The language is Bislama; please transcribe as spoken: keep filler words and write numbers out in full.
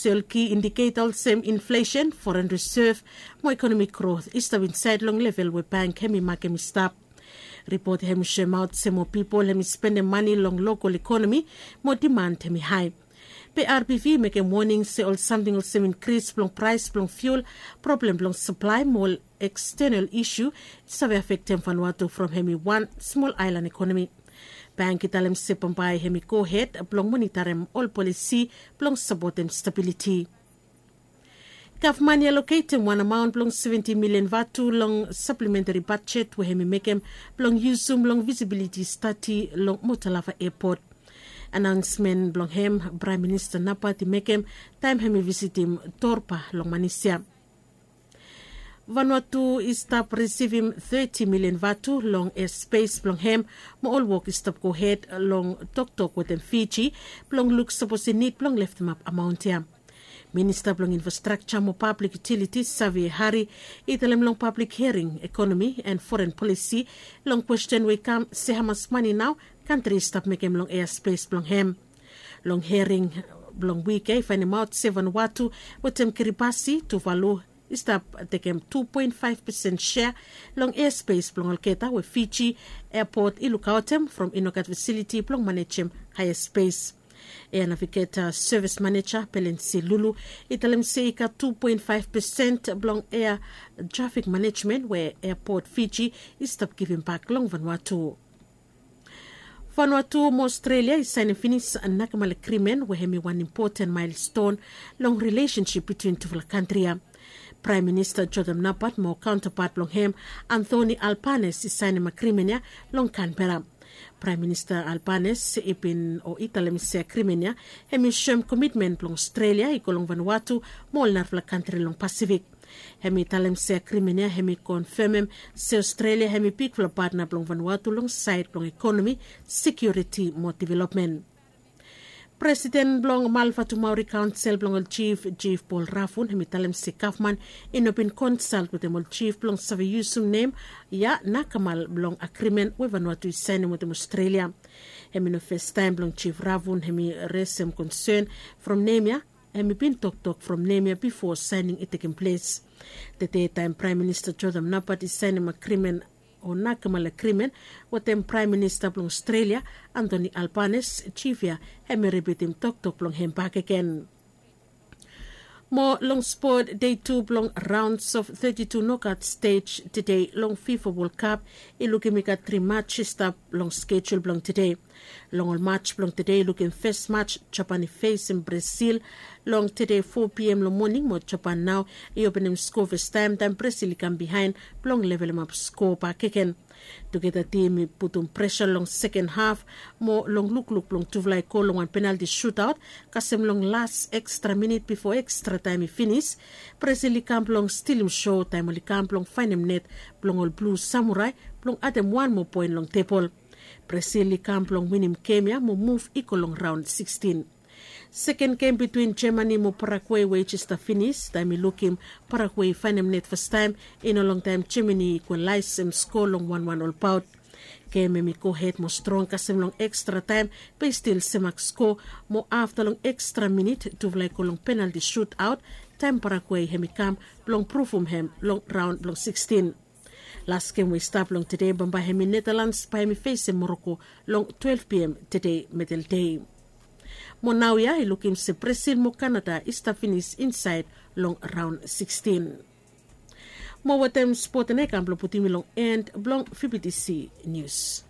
Sel ki indiketa olsem inflesen, foren resev mo ekonomik grot i stap insaed long level we bank hem i makem i stap. Ripot hem i soemaot se moa pipol hem i spendem mane long lokol ekonomi mo diman hem i hae. Be RBV i mekem woning se ol samting olsem inkris blong praes blong fiul, problem blong saplae mo ol ekstenal isu i save afektem Vanuatu from hem i wan smol aelan ekonomi. Bank i talem se bambae hem i gohed blong monitarem ol polisi blong sapotem stabiliti. Gavman i aloketem wan amaon blong seventi milian vatu long saplementari bajet we hem i mekem blong yusum long visibiliti stadi long Motalava Epot. Anaonsmen blong hem Praem Minista Napat i mekem taem hem i visitim Torba long Manisia. Vanuatu i stap risivim teti milian vatu long espes blong hem mo ol wok i stap gohed long toktok wetem Fiji blong luk sapos i nid blong leftemap amaon ya. Minista blong Infrastrakja mo Pablik Yutilitis Savea Hari i talem long pablik hiaring ekonomi en foren polisi long kwesten we i kam se hamas mane nao kantri i stap mekem long easpes blong hem. Long hiaring blong wik ya i faenemaot se Vanuatu wetem Kiribati, Tuvalu i stap tekem tu poen faef pesen sea long easpes blong olgeta we Fiji Epot i lukaotem from i nogat fasiliti blong manejem hae easpes. Ea navigeta sevis maneja Pelensi Lulu i talem se i gat tu poen faef pesen blong ea trafik manejmen we Epot Fiji i stap givimbak long Vanuatu. Vanuatu mo Aostralia i saenem finis nakemal agrimen we hem i wan impoten maelston long rilesensip bitwin tufala kantri ya. Praem Minista Jotham Napat mo kaontapat blong hem Anthony Albanese i saenem agrimen ya long Kanbera. Praem Minista Albanese i bin o i talem se agrimen ya hem i soem komitmen blong Aostralia i go long Vanuatu mo ol narafala kantri long Pasifik. Hem i talem se agrimen ya hem i konfemem se Aostralia hem i bigfala patna blong Vanuatu long saed blong ekonomi, sekiuriti mo developmen. Presiden blong Malvatumauri Kaonsel blong ol jif, Jif Paul Ravun hem i talem se gavman i no bin konsalt wetem ol jif blong save yusum nem ya nakemal blong agrimen we Vanuatu i saenem wetem Aostralia. Hem i no festaem blong Jif Ravun hem i resem konsen from nem ya hem i bin toktok from nem ya bifo saening i tekem ples. Tede taem Praem Minista Jotham Napat i saenem agrimen o nakemal agrimen wetem Praem Minista blong Aostralia Anthony Albanese, jif ya hem i ripitim toktok blong hem bakegen. Mo long spot, dei tu blong raons of teti tu nokat stej tede long FIFA Wol Kap i lukim i gat tri maj i stap long skejul blong tede. Long ol maj blong tede i lukim fes maj Japan i fesem Brasil long tede fo piam long moning mo Japan nao i openem sko fastaem taem Brasil i kam bihaen blong levelemap sko bakegen. Tugeta tim i putum presa long seken haf mo long lukluk blong tufala i go long wan penalti sutaot kasem long las ekstra minit bifo ekstra taem i finis. Brasil i kam blong stilim so taem oli kam blong faenem net blong ol Blu Samurai blong adem wan moa poen long tebol. Brasil i kam blong winim gem ya mo muv i go long raon sikstin. Seken gem bitwin Jamani mo Paragwe we i jes stap finis taem i lukim Paragwe i faenem net fastaem i no longtaem Jamani i ikwalaesem sko long wanwan olbaot. Gem hem i gohed mo strong kasem long ekstra taem be i stil semak sko mo afta long ekstra minit tufala i go long penalti sutaot taem Paragwe hem i kam blong pruvum hem long raon blong sikstin. Las gem we i stap long tede bambae hem i Netalans bae hem i fesem Moroko long twelef piam tede medeldei. Mo naoia i lukim se Brasil mo Kanada i stap finis insaed long raon sikstin. Mo wetem spot ya i kam blong putum mi long en blong VBTC Nius.